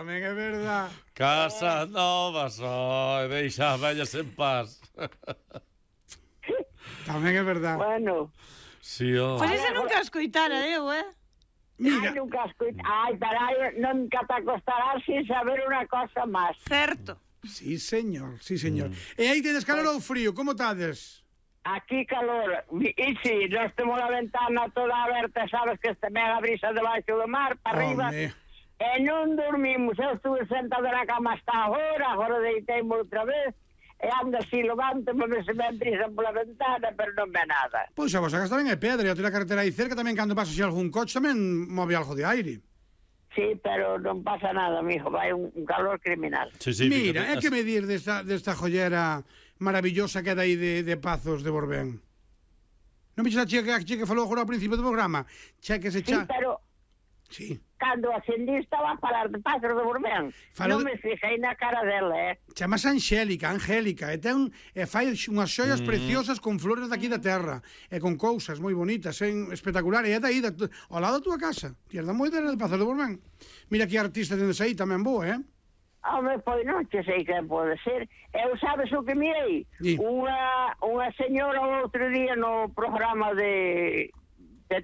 Tamén é verdad. Casa nova só, deixa as vellas en paz. Tamén é verdad. Bueno. Si, ó. Pois ese nunca o escoitara eu, Mira. Ai, nunca ai, carai, nunca te acostarás sin saber unha cosa máis. Certo. Sí, señor, sí, señor. E aí tedes calor ou frío, como tades? Aquí calor. E si, nós temos a ventana toda aberta, sabes que este mega brisa debaixo do mar, para arriba. Home. E non dormimos. Eu estuve sentado na cama hasta agora deiteime outra vez. E ando así, levanto, me se me brisa pola ventana, pero non ve nada. Pois a vosa casa tamén é pedra, e a carretera aí cerca tamén cando pasa algún coche tamén move algo de aire. Sí, pero non pasa nada, mijo, vai un calor criminal. Sí, sí, Mira, fíjate. é que medir desta jollera maravillosa que é aí de Pazos de Borbén. Non vexes a chica que falou agora ao principio do programa? Che que se Sí, cha... pero Sí. cando ascendí estaba a falar de Pazos de Borbén. Non me fixei na cara dela, Chamase Angélica, e fai unhas xollas preciosas con flores daqui da terra e con cousas moi bonitas, espectacular, e é daí ao lado da túa casa. Tierda moi de Pazos de Borbén. Mira que artista tendes aí tamén boa, Home, pois non che sei que pode ser. Eu sabes o que mirei? Sí. Unha señora outro día no programa de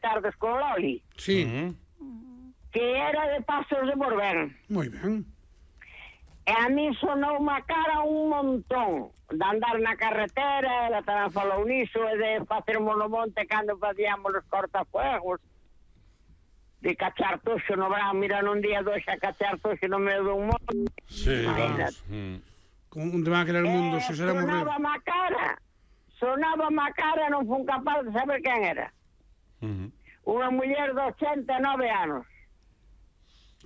Tardes con Loli, Sí. que era de Pazos de Borbén. Moi ben. E a mí sonou má cara un montón de andar na carretera, ela tamén falou niso, e de facer monomonte cando facíamos os cortafuegos, de cachar toxo no verán, mira nun día dois a cachar toxo no medio dun monte. Sí, Imagínate. vamos. Con un tema que era o mundo, se será morrer. Sonaba má cara, non fun capaz de saber quen era. Unha muller de 89 anos.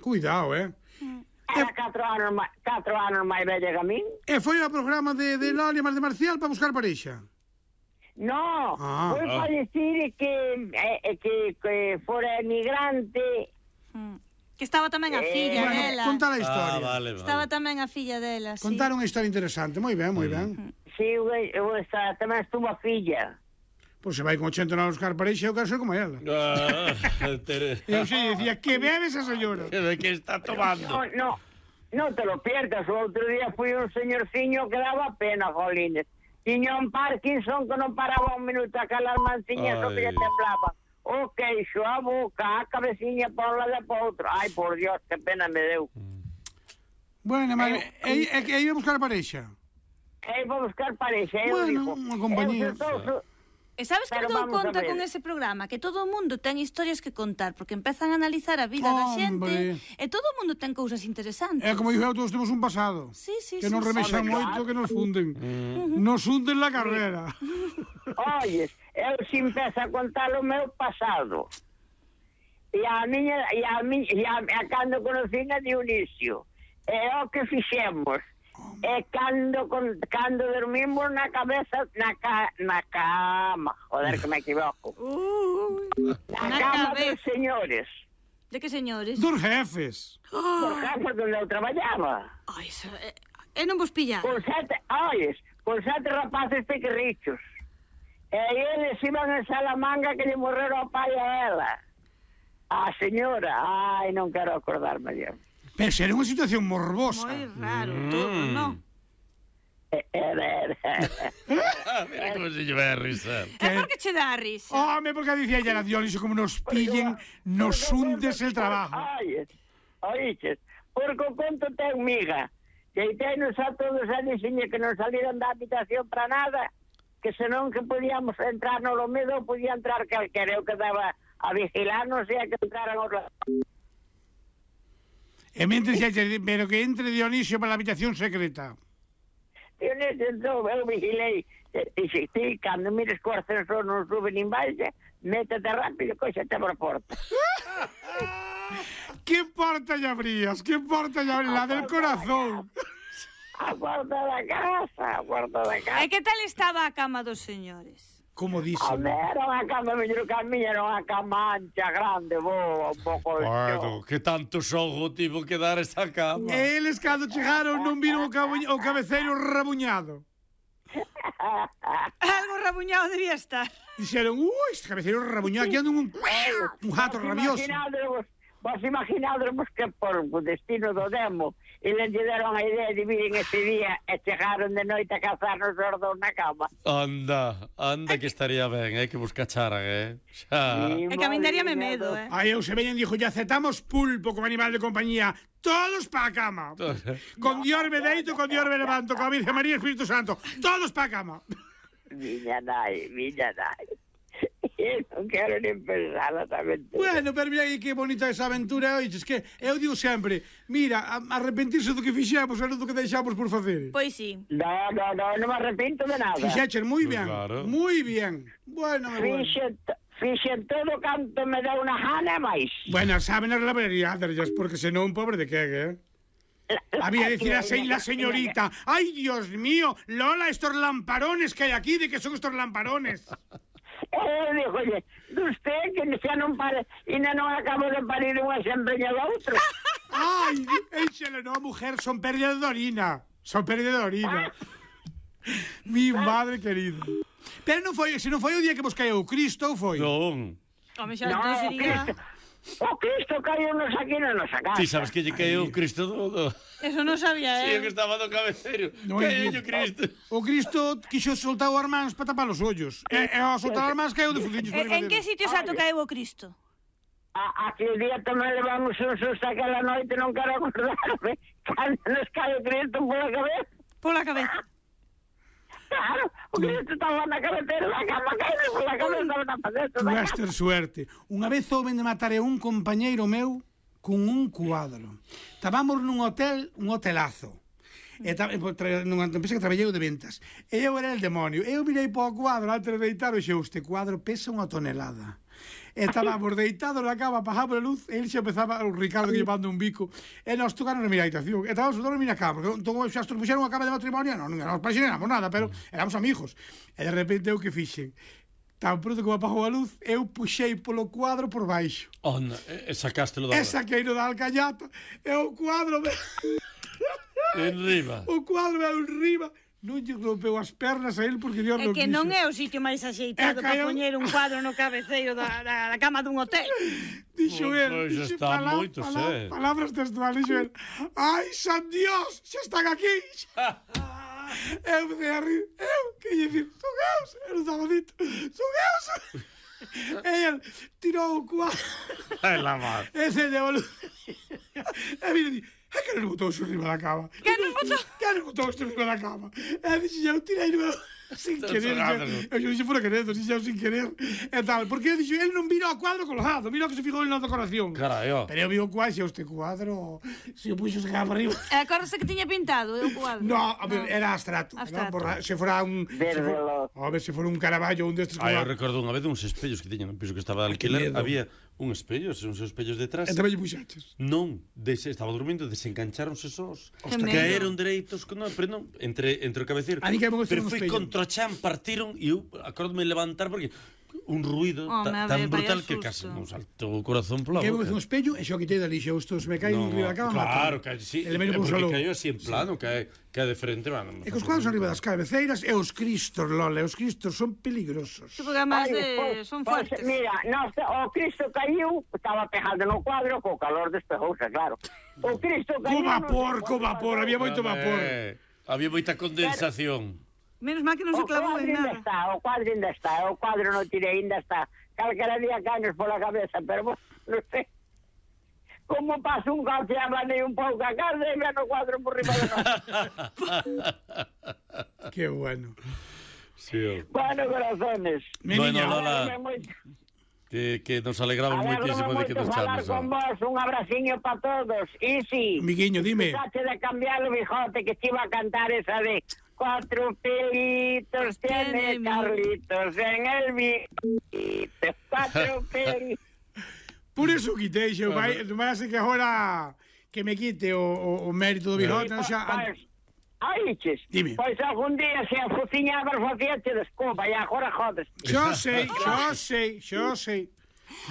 Cuidado, Era 4 anos máis bella que a min. E foi ao programa de Loli Mar de Marcial para buscar parexa. No, foi Ah. para dicir que fora emigrante. Que estaba tamén a filla Bueno, dela. contar a historia. Vale. Estaba tamén a filla dela, sí. Contar unha historia interesante. Moi ben, moi ben. Sí, tamén estuvo a filla. Pois se vai con 80 anos buscar parexa, eu quero ser como ela. Eu sei, decía, que bebe esa señora. ¿De qué está tomando? No te lo pierdas. O outro día fui un señorciño que daba pena, jolines. Tiña un Parkinson que non paraba un minuto a calar manciñas o que lle temblaba. O queixo, a boca, a cabeciña por un lado e por outro. Ai, por Dios, que pena me deu. Bueno, mas é que iba a buscar parexa. E vou buscar parexa, eu Bueno, digo. unha compañía. E sabes que Pero dou vamos a conta ver. con ese programa? Que todo o mundo ten historias que contar, porque empezan a analizar a vida da xente e todo o mundo ten cousas interesantes. É como dixo, todos temos un pasado. Sí, sí, que nos sí, remexan sí. moito, que nos funden. Nos funden la carrera. Oyes, eu se empezo a contar o meu pasado. E a cando conocín a Dionisio. E o que fixemos. E cando dormimos na cabeza, na cama, joder que me equivoco. Na cama dos señores. De que señores? Dos jefes. Por jefes onde eu traballaba. Ai, non vos pillar. Con sete rapaces pequerrichos. E eles iban en Salamanga que lle morreron ao pai a ela. A señora, ai, non quero acordarme de. Pero era unha situación morbosa. Moi raro, todo, non? Mira como se lleva a risar. É porque che dá a risa. Home, porque dicía ella, Dionisio, como nos pillen, nos hundes el trabajo. Oíches, porque o conto ten miga. Que tenos a todos a diciñe que non salieron da habitación para nada, que senón que podíamos entrar no lo medo, podía entrar calquera, eu que daba a vigilarnos e a que entraran os... E mentre pero que entre Dionisio para a habitación secreta. Dionisio entrou, eu vigilei, e ti, cando mires co ascensor non sube nin baixa, métete rápido, cóxate por a porta. Que porta lle abrías? Que porta lle abrías? La del corazón. A porta da casa, a porta da casa. E que tal estaba a cama dos señores? Comodísimo. Home, era unha cama mellor que a miña, era unha cama ancha, grande, boa, un pouco... Bueno, que tanto xogo tivo que dar esa cama. Eles cando chegaron non viron o cabeceiro rabuñado. Algo rabuñado debía estar. Dixeron, este cabeceiro rabuñado, aquí anda un gato rabioso. Vos imaginádremos que por o destino do demo eles lle deron a idea de viren ese día e chegaron de noite a cazarnos os dous na cama. Anda que estaría ben, que vos cacharan, xa. É que a min daríame medo, Aí eu se veñen dixo, ya aceptamos pulpo como animal de compañía. Todos para a cama. Con Dios me deito, con Dios me levanto, con a Virgen María e Espíritu Santo. Todos para a cama. Miña nai. Non quero nin pensar esa aventura. Bueno, pero mira que bonita esa aventura, oiches, que eu digo sempre, mira, arrepentirse do que fixemos e non do que deixamos por facer. Pois sí. No me arrepinto de nada. Fixeches moi ben, Claro. moi bien. Bueno, Fixen todo canto me deu unha gana e máis. Bueno, saben as laverías, porque senón pobre de que, Había decir a la señorita, ay, Dios mío, Lola, estos lamparones que hay aquí, ¿de qué son estos lamparones? Dijo, oye, de usted que xa non pare, e non acabo de parir unha sempre e outro. Ay, échale, no, mujer, son pérdidas de orina. Mi madre querida. Pero non foi, se non foi o día que vos caeu o Cristo, ou foi? Non. Home, xa non sería... O Cristo caíunos aquí na nosa casa. Ti sabes que lle caeu o Cristo do... Eso non sabía, Sí, que estaba do cabeceiro. Caeu o Cristo. O Cristo quixo soltar o armáns para tapar os ollos. E ao soltar o armáns caeu de fuciños. En que sitio exacto caeu o Cristo? Aquel día tamén levamos un susto aquela noite, non quero acordarme. Cando nos cae o Cristo pola cabeza. Pola cabeza. Claro, o Cristo estaba na cabecera da cama, caído pola cabeza na paleta da cama. Ter suerte. Unha vez houben de matar a un compañeiro meu con un cuadro. Estábamos nun hotel, un hotelazo. Nunha empresa que traballei de ventas. E eu era el demonio. Eu mirei para o cuadro antes de deitar e xe, este cuadro pesa unha tonelada. Estábamos deitados na cama, pasaba a luz, e ele xa empezaba, o Ricardo que llevando un bico, e nos tocaron na miña habitación. E estábamos dormir na cama. Entón, xa puxeron unha cama de matrimonio, non nos paixonamos nada, pero éramos amigos. E de repente eu que fixen? Tan pronto como apagou a luz, eu puxei polo cuadro por baixo. Onda, sacástelo da... E saqueino da alcañata, e o cuadro... Enriba. O cuadro me enriba. Non lle rompeu as pernas a él porque Dios É non que quixo. non é o sitio máis axeitado para poñer un cuadro no cabeceiro da cama dun hotel. Dixo él. Pois dixo está moito, palabras textuales, dixo él. Ai, San Dios, xa están aquí. Eu me a rir. Que lle dicir, son eus. Eu estaba dito, son eus. E él tirou o cuadro. Ai, la mar. E se llevou. E mire, que nos botou isto riba da cama? Que nos botou? Que nos botou isto riba da cama? E dixo, eu tirei no... sin querer. Eu dixo, fora querer, dixo, sin querer. E tal, porque eu dixo, ele non vino ao cuadro colgado, vino que se fijou na decoración. Carai, ó. Pero eu vi o cuadro, este cuadro, se eu puxo se cama arriba. E acórdase que tiña pintado o cuadro? No, a ver, era abstracto. Abstracto. Se fora un... A ver, se fora un Caravaggio, un destes... Eu recordo unha vez uns espellos que tiñan no piso que estaba de alquiler, había un espello, uns espellos detrás. E tamén lle puxaches. Non, estaba dormindo, desengancháronse sós. medo. Caeron dereitos, pero non, entre o cabeceiro. A mí que me Pero un foi espello. contra o chan, partiron e eu acordome levantar porque un ruido Home, tan vaya brutal que susto. case non saltou o corazón pola Que eu boca. un espello e xo quitei dali, xo estos me caen riba da cama. claro, que sí, Ele menos porque pulsalo. caeu así en plano, cae de frente, bueno. E cos cuadros arriba das cabeceiras e os cristos, Lola, os cristos son peligrosos. Sí, porque además son fuertes. Mira, o Cristo caiu, estaba pegado no cuadro, co calor despejouse, claro. O Cristo caiu... Co vapor, había moito vapor. Había moita condensación. Menos mal que non se clavou en nada. O cuadro ainda está, o cuadro non tirei, ainda está. Calquera día caños pola cabeza, pero non sei. Como pasa un coche a manei un pouco a casa e ven o cuadro por riba de nós. Qué bueno. Sí, Bueno, corazones. Bueno, Lola, Moito. que nos alegramos moitísimo de que nos chames. Con vos, un abraciño para todos. Y sí, Miguiño, dime. dejaste de cambiar el bijote que te iba a cantar esa de 4 pelitos tiene Carlitos en el bijito. 4 pelitos. Por eso quitei, xo, vai ser que agora que me quite o mérito do bigote, non xa... Ai, ches. Dime. Pois algún día se a fuciñabas facíache desculpa e agora jodes. Xo sei.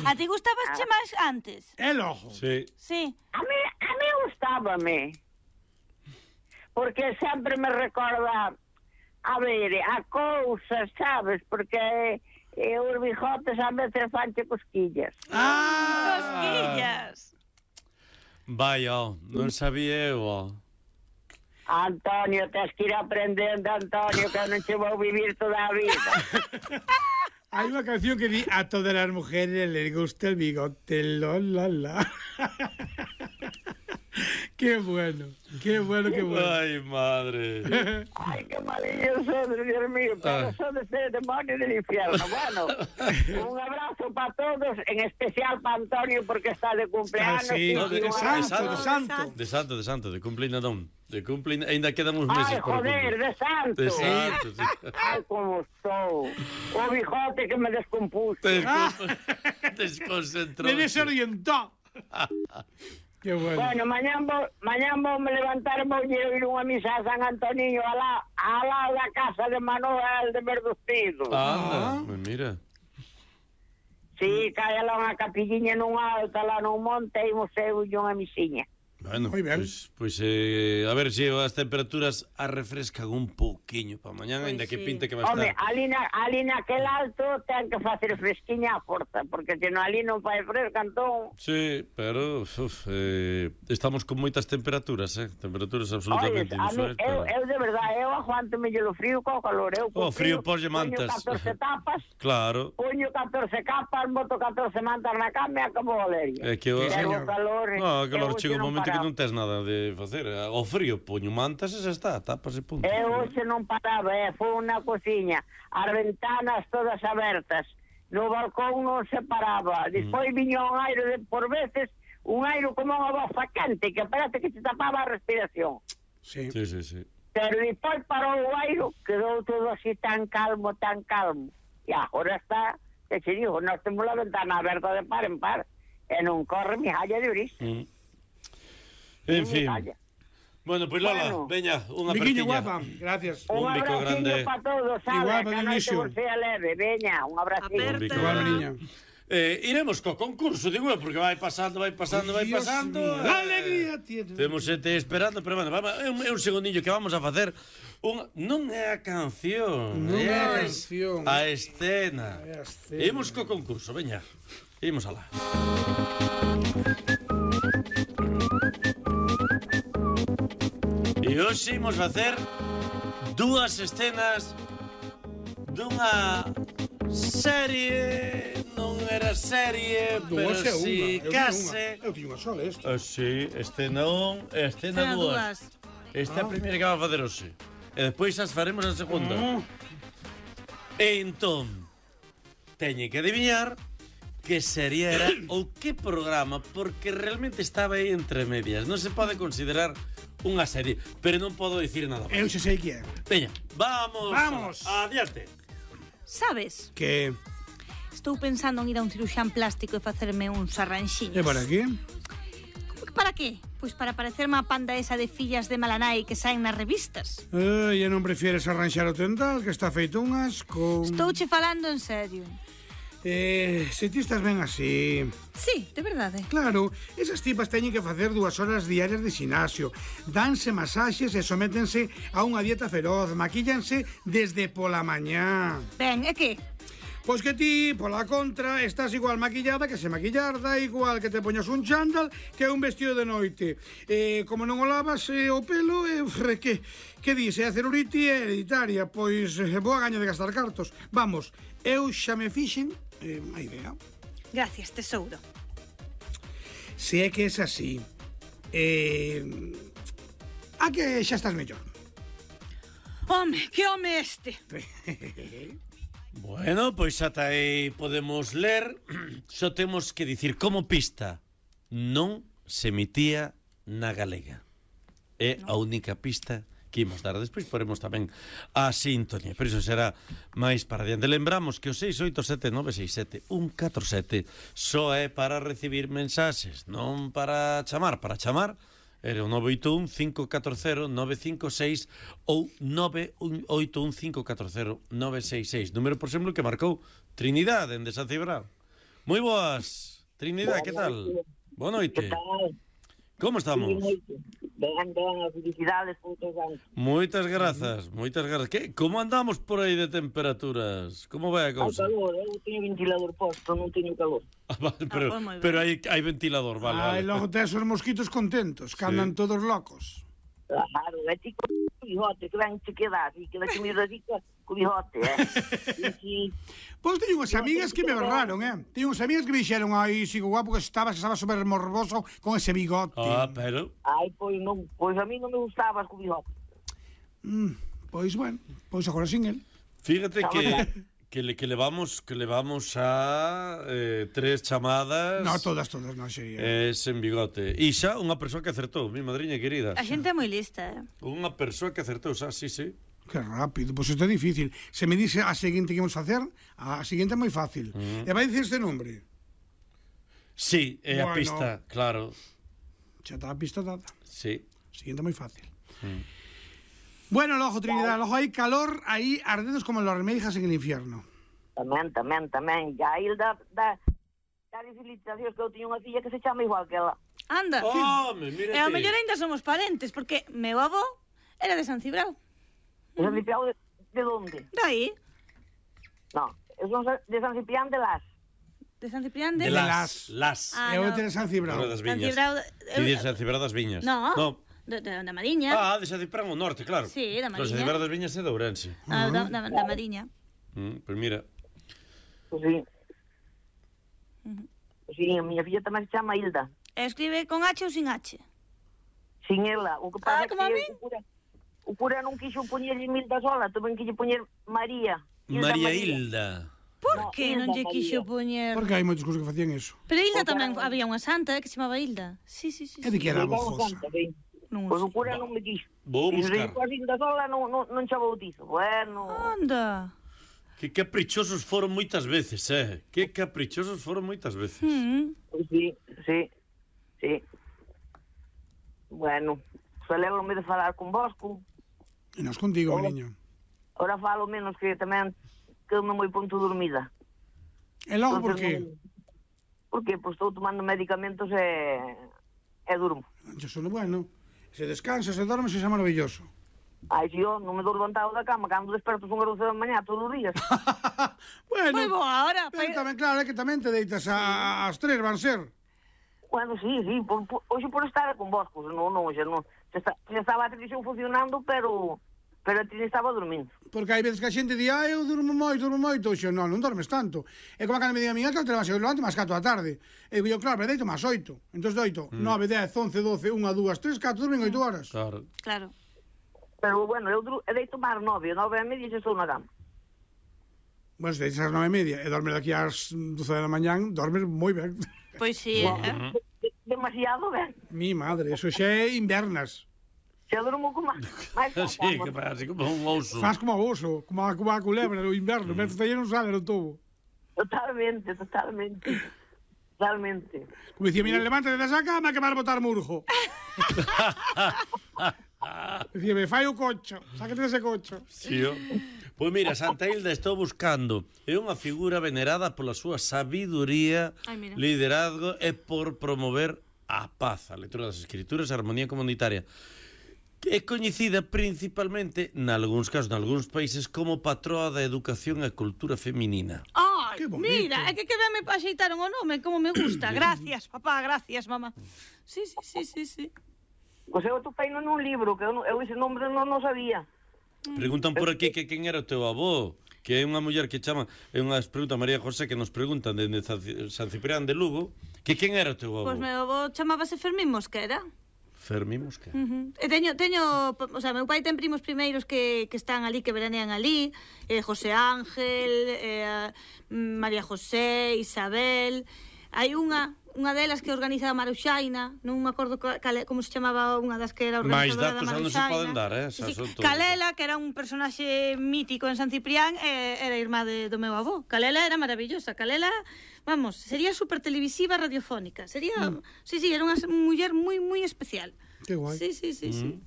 A ti gustabas che máis antes? É logo. Sí. Sí. A mí gustábame. Porque sempre me recorda, a ver, a cousas, sabes? Porque os bijotes a veces fanche cosquillas. Cosquillas. Vai, non sabía eu, Antonio, tens que ir aprendendo, Antonio, que non che vou vivir toda a vida. Hay una canción que dice: a todas las mujeres les gusta el bigote, la. Qué bueno, qué bueno, qué bueno. Ai, madre. Ay, qué malillo sodes, Dios mío, pero sodes el demonio del infierno. Bueno, un abrazo para todos, en especial para Antonio, porque está de cumpleaños. Sí, No, de santo. De santo, de cumplina non. De cumplina, ainda quedan uns meses Ay, para joder, de santo. De santo, sí. Ay, como estou. O bigote que me descompuso. Desconcentrou. Me desorientó. Qué bueno. Bueno, mañán vou me levantar e vou ir unha misa a San Antoniño al lado da casa de Manuel de Verdustido. Anda, mira. Sí, cae lá unha capilliña nun alto, lá nun monte, e imos eu unha misiña. Bueno, Muy ben. Pois a ver se as temperaturas arrefrescan un pouquiño para mañán, Pois ainda que sí. pinte que vai Home, estar. ali naquel alto ten que facer fresquiña a porta, porque se non ali non fai fresca, entón... Sí, pero estamos con moitas temperaturas, temperaturas absolutamente Oye, a mí, inusuais. eu de verdade, eu aguanto mellor o frío co calor. Eu co Frío poslle mantas. Poño 14 tapas, Claro. poño 14 capas, boto 14 mantas na cama e acabo Valeria. É que o... Pero o calor... No, que eu calor chega un hoxe momento que paraba. non tes nada de facer. Ao frío poño mantas e xa está, tapas e punto. Eu hoxe non paraba, foi na cociña, as ventanas todas abertas, no balcón non se paraba. Despois viña un aire por veces, un aire como unha bofa quente, que parece que se tapaba a respiración. Sí. Sí. Pero despois parou o aire, quedou todo así tan calmo, tan calmo. E agora está, que se dijo, nós temos a ventana aberta de par en par, e non corre mi halla de brisa. En fin. Halla. Bueno, pois Lola, Bueno. veña, unha Miquiño apertiña. guapa, gracias. Un bico grande. para todos, sabe? Igual, Que a noite Dionisio. vos sea leve. Veña, un abraciño. Un bico Igual, grande. niña. Iremos co concurso, digo eu, porque vai pasando. Dios mío, ¡qué alegría tiene! Temos xente esperando, pero bueno, vamos, é un segundillo que vamos a facer. Non é a canción, Non é a é canción. a escena. É a escena. Imos co concurso, veña. Imos alá. E hoxe imos facer dúas escenas dunha serie, non era serie, pero Dúas é si unha. case. Eu tiño unha sola, esta. Sí, escena 1 e escena 2. Esta é a primeira que vamos a facer hoxe. E despois as faremos a segunda. E entón, teñe que adivinar que serie era ou que programa, porque realmente estaba aí entre medias. Non se pode considerar unha serie, pero non podo dicir nada máis. Eu xe sei que é. Veña, vamos. Vamos. Adiante. Sabes? Que Estou pensando en ir a un ciruxán plástico e facerme uns arranxiños. é para aquí? Para qué? Pois para parecerme a panda esa de fillas de Malanai que saen nas revistas. E non prefieres arranxar o tental, que está feito un asco. Estouche falando en serio. Se ti estás ben así... Sí, de verdade. Claro, esas tipas teñen que facer 2 horas diarias de xinasio, danse masaxes e sométense a unha dieta feroz, maquíllanse desde pola mañá. Ben, e que? Pois que ti, pola contra, estás igual maquillada que se maquillar, da igual que te poñas un chándal que un vestido de noite. Como non o lavas o pelo, que dis? A celulite é hereditaria, pois boa gaña de gastar cartos. Vamos, eu xa me fixen a idea. Gracias, tesouro. Se é que es así, a que xa estás mellor. Home, que home este? Bueno, pois ata aí podemos ler. Só temos que dicir como pista. Non se emitía na galega. É a única pista que imos dar. Despois poremos tamén a sintonía, pero iso será máis para diante. Lembramos que o 687-967-147 só é para recibir mensaxes, non para chamar. Para chamar era o 981-540-956 ou 981-540-966. Número, por exemplo, que marcou Trinidad, en San Cibrao. Moi boas, Trinidad, que tal? Boa noite. Que tal? Como estamos? Ben, felicidades por todos anos. Moitas grazas, moitas grazas. Como andamos por aí de temperaturas? Como vai a Hai cousa? calor, eu teño ventilador posto, non teño calor. Vale, pues moi ben. pero hai ventilador, vale. Logo tes os mosquitos contentos, que andan todos locos. Claro, é ti co bigote, que ben te quedas, e que que me dedica co bigote, Sí. Pois teño unhas amigas que me berraron, Teño unhas amigas que me dixeron, ai, sigo guapo que estaba super morboso con ese bigote. Pero... Ai, pois non, pois a mí non me gustabas co bigote. Pois, bueno, pois agora sin el. Fíjate que levamos a 3 chamadas. No, todas, non sería. Sen bigote. E xa unha persoa que acertou, mi madriña querida. A xente é moi lista, Unha persoa que acertou, xa, sí. Que rápido, pois isto é difícil. Se me dice a seguinte que vamos facer, a seguinte é moi fácil. E vai dicir este nombre. Sí, é a pista, claro. Xa está a pista dada. Sí. Seguinte é moi fácil. Bueno, logo, Trinidad, logo hai calor, aí ardedos como los remeijas en el infierno. Tamén. E a Hilda da felicitacións que eu tiño unha filla que se chama igual que ela. Anda. Mírate. E ao mellor ainda somos parentes, porque meu avó era de San Cibrao. De San Ciprián de onde? Dai. Non, eu son de San Ciprián de Las. De San Ciprián de... De Las. Eu de San Cibrao. Das San Viñas. Cibrao... Ti dices San Cibrao das Viñas. No. Da Mariña. De San Cibrao ao norte, claro. Sí, da Pero San Mariña. Cibrao das Viñas é de Ourense. Da Mariña. Pois mira. Pois sí. Pois sí, a miña filla tamén se chama Hilda. Escribe con H ou sin H? Sin ela. O que pasa como a que min. o cura non quixo poñerlle Hilda sola, tamén quixo poñer María. María Hilda. Por que non lle quixo poñer? Porque hai moitos cousas que facían eso. Pero Hilda tamén había unha santa que se chamaba Hilda. Sí. É de que era bojosa. Pois o cura non me quixo. Vou buscar. Se a Hilda sola non xa bautizo. Bueno. Anda. Que caprichosos foron moitas veces, Que caprichosos foron moitas veces. Pois sí. Bueno, alegro-me de falar con vosco. E nós contigo, niño. Ora falo menos que tamén quedo-me moi punto dormida. E logo por qué? Porque pois estou tomando medicamentos e durmo. Yo sono bueno. Se descansas e dormes, é maravilloso. Ai, si eu non me dou levantado da cama cando desperto son as 12 da mañá todos os días. Bueno, Moi boa hora. pero tamén claro, é que tamén te deitas ás 3, van ser. Bueno, sí, hoxe por estar con vos, pois non, hoxe non. Xa estaba a televisión funcionando, pero a ti estaba dormindo. Porque hai veces que a xente di, eu durmo moito, oxe, non dormes tanto. É como cando me di a miña que te vas a levantar máis 4 da tarde. E digo, claro, me deito máis 8. Entón doito 9, 10, 11, 12, 1, 2, 3, 4, dormen 8 horas. Claro. Pero, bueno, eu deito máis 9 e media xa estou na cama. Bueno, se deitas ás 9:30 e dormes daqui ás 12 da mañán, dormes moi ben. Pois sí, Demasiado ben. Mi madre, eso xa é invernas. Xa durmo con máis Sí, que parece como un ouso. Faz como a oso, como a culebra no inverno, metes aí non sale no tubo. Totalmente. Como dicía, mira, levántate desa cama que vas botar murjo. Dicía, me fai o cocho, sáquete dese cocho. Sí, Pois mira, Santa Hilda estou buscando. É unha figura venerada pola súa sabiduría, liderazgo e por promover a paz, a lectura das escrituras e a armonía comunitaria. É coñecida principalmente, nalgúns casos, nalgúns países, como patroa da educación e cultura feminina. Ai, mira, é que ben me axeitaron o nome, como me gusta. Gracias, papá, gracias, mamá. Sí. Pois eu topei nun libro, que eu ese nombre non sabía. Preguntan por aquí que quen era o teu avó, que é unha muller que chama, é unha pregunta María José que nos preguntan dende San Ciprián de Lugo, que quen era o teu avó? Pois meu avó chamábase Fermín Mosquera. Fermín Mosquera. E teño, o sea, meu pai ten primos primeiros que están ali, que veranean ali, José Ángel, María José, Isabel. Hai unha delas que organiza a Maruxaina, non me acordo como se chamaba unha das que era organizadora da Maruxaina. Mais datos non se poden dar, Calela, que era un personaxe mítico en San Ciprián, era irmá do meu avó. Calela era maravillosa. Calela, vamos, sería super televisiva radiofónica. Sería, sí, era unha muller moi especial. Que guai. Sí.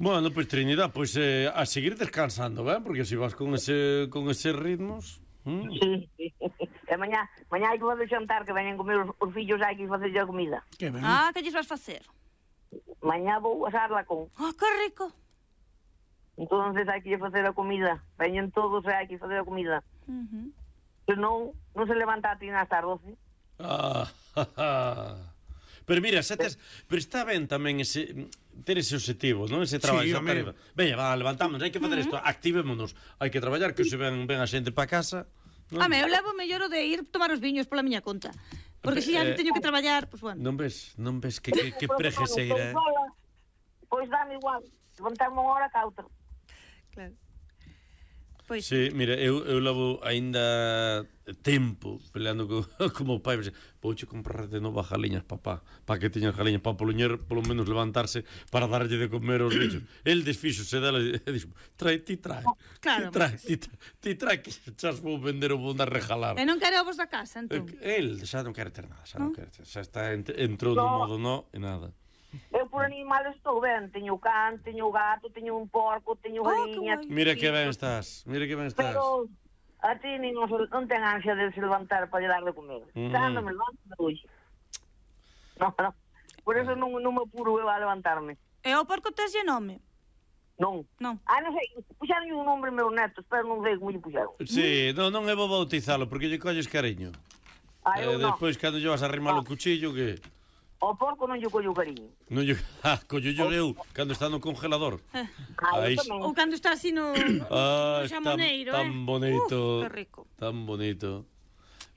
Bueno, pois Trinidad, pois a seguir descansando, ben? Porque se vas con eses ritmos... Sí. E mañá hai que fazer xantar, que veñen comer os fillos, hai que facer a comida. Que ben. Que lles vas facer? Mañá vou asar lacón. Que rico. Entonces hai que facer a comida. Veñen todos e hai que facer a comida. Se non se levanta a ti hasta as 12. Pero mira, pero está ben tamén ter ese objetivo, non? Ese traballo. Sí, home. Veña, levantamos, hai que facer isto, activémonos. Hai que traballar, que se ven a xente para casa. Home, eu levo mellor o de ir tomar os viños pola miña conta. Porque se xa teño que traballar, pois bueno. Non ves que prejeseira, Pois dame igual. Levantarme unha hora ca outra. Claro. Pois sí, mira, eu levo aínda tempo peleando como o pai. Vouche comprar de novo galiñas, papá, para que teñan galiñas, para polo menos levantarse para darlle de comer aos bichos. El desfíxose dela e dixo, ti trae. Claro. Ti trae que xas vou vender ou vou dar regalar. E non quere ovos da casa, entón? El xa non quere ter nada, xa está entrou do modo no e nada. Eu por animales estou ben, teño can, teño gato, teño un porco, teño galiña. Mira que ben estás. Pero a ti non ten ansia de se levantar para lle dar de comer. Cando me levanto, me hoxe. No. Por eso non me apuro eu a levantarme. E o porco teslle nome? Non. Non sei, puxaron un nombre meus netos, pero non sei como lle puxaron. Sí, non é bo bautizalo, porque lle colles cariño. Despois, cando lle vas a arrimar o cuchillo, que... O porco non lle collo cariño. Collo eu, cando está no congelador. Ou cando está así no xamoneiro, tan bonito. Que rico. Tan bonito.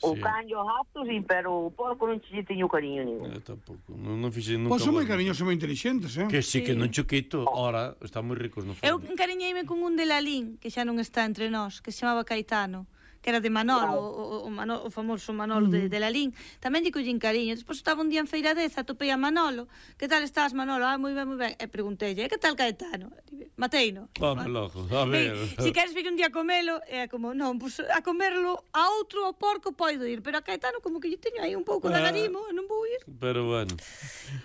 O can e o gato, sí, pero o porco non che teño cariño ningún. Tampouco, non fixei nunca. Pois son moi cariñosos e moi inteligentes, Que sí, que non choquito. Ora, están moi ricos no fondo. Eu encariñeime con un de Lalín, que xa non está entre nós, que se chamaba Caetano, que era de Manolo, o famoso Manolo de Lalín. Tamén lle collín cariño. Despois estaba un día en Feiradeza, atopei a Manolo. Que tal estás, Manolo? Moi ben, moi ben. E pregunteille, que tal Caetano? Mateino. Vamos logo, a ver. Si queres vir un día a comelo, é como, non, pues, a comerlo a outro, ao porco, poido ir. Pero a Caetano como que lle teño aí un pouco de agarimo, non vou ir. Pero bueno.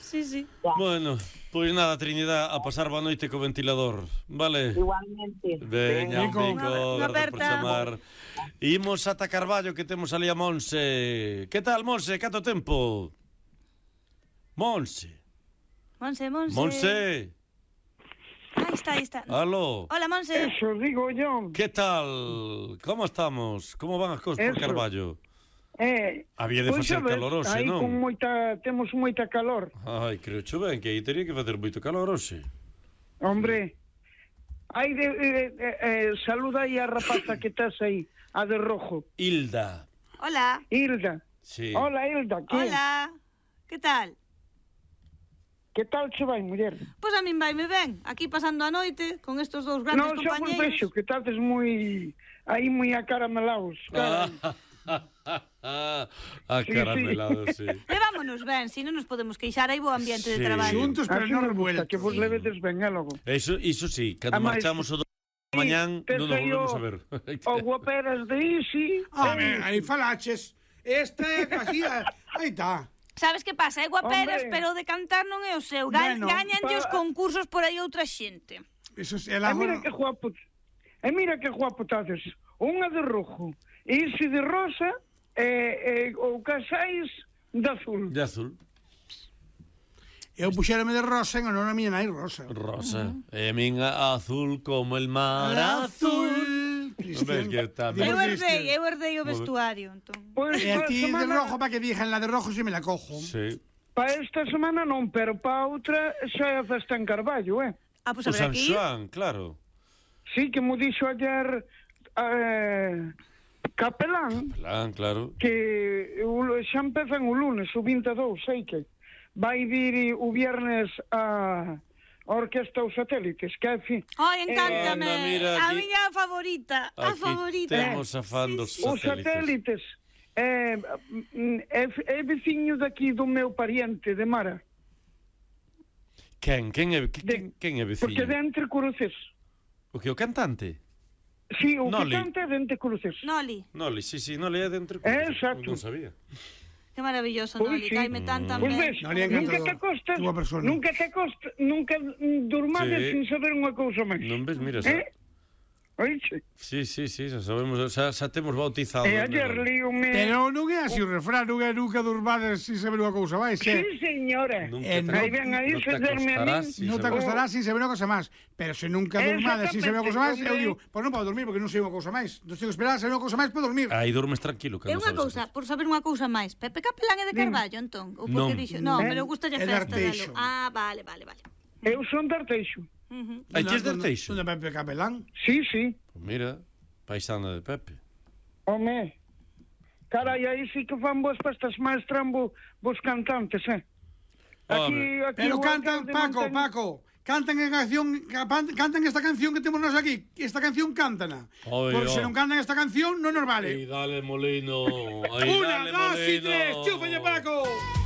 Sí. Bueno, pois nada, Trinidad, a pasar boa noite co ventilador, vale? Igualmente. Veña, un pico, Unha gracias por chamar. Imos ata Carballo, que temos ali a Monse. Que tal, Monse? Canto tempo? Monse. Aí está. Aló. Hola, Monse. Eso digo yo. Que tal? Como estamos? Como van as cousas por Carballo? Había de facer calor hoxe, non? Temos moita calor. Ai, creo cho ben que aí teria que facer moito calor hoxe. Hombre, saluda aí a rapaza que estás aí, a de rojo. Hilda. Hola. Hilda. Sí. Hola, Hilda. Hola. Que tal? Que tal che vai, muller? Pois a min vaime ben, aquí pasando a noite con estos dous grandes compañeiros. Non, xa vos vexo que estades moi acaramelados. Acaramelados, sí. Levámonos ben, si non nos podemos queixar, hai bo ambiente de traballo. Xuntos, pero non revueltos. Que vos levedes ben, logo. Iso sí, cando marchamos o mañán non nos volvemos a ver. O guaperas de Isi. Aí falaches. Esta é casi... Aí está. Sabes que pasa? É guaperas, pero de cantar non é o seu. Gañanlle os concursos por aí outra xente. Eso é la... Mira que guapo tades. Unha de rojo, ese de rosa ou casais de azul. De azul. Eu puxérame de rosa en honor a miña nai Rosa. Rosa. E a min azul como el mar azul. Cristian. Eu herdei o vestuario, entón. E a ti de rojo, para que dixen la de rojo se me la cojo. Sí. Para esta semana non, pero para outra xa é a festa en Carballo, Pois O habrá San que ir. Xoán, claro. Sí, que mo dixo ayer Capelán, Claro. que xa empezan o lunes, o 22, sei que vai vir o viernes a Orquesta Os Satélites, que é fin. Ai, encántame. A aquí... miña favorita, a favorita. Temos a fan dos Os Satélites é veciño daqui do meu pariente de Mara. Quen é veciño? Porque de Entre Cruces. O que, o cantante? Sí, o Noli. que canta é de Entre Cruces. Noli. Noli, sí, Noli é de Entre Cruces. Exacto. Non sabía. Que maravilloso, Pois Noli. sí. Caime tan Pois ben. ves, Noli é encantador. Boa persona. nunca durmades Sí. sin saber unha cousa máis. Non ves, mira, Oixe? Sí, xa sabemos, xa temos bautizado. E ayer líome... Pero non é así o refrán, non é nunca durmades sin saber unha cousa máis, Sí, señora. Aí ven aí facerme a min. Non te acostarás sin saber unha cousa máis. Pero se nunca durmades sin saber unha cousa máis, eu digo, pois non podo dormir porque non sei unha cousa máis. Non tengo que esperar a saber unha cousa máis para dormir. Aí dormes tranquilo. É unha cousa, por saber unha cousa máis. Pepe Capelán é de Carballo, entón? Ou porque dixo? Non, pero gusta a festa dalo. Ah, vale. Eu son de Arteixo. Aí que es de Arteixo? Onde Pepe Capelán? Sí. Pues mira, paisana de Pepe. Home, carai, aí sí que fan vos festas máis trambo vos cantantes, Aquí pero o cantan, alcalde Paco, cantan esta canción que temos nós aquí. Esta canción cántana. Por se non cantan esta canción, non nos vale. Aí dale, Molino. Una, dos y tres, chúfalle, Paco.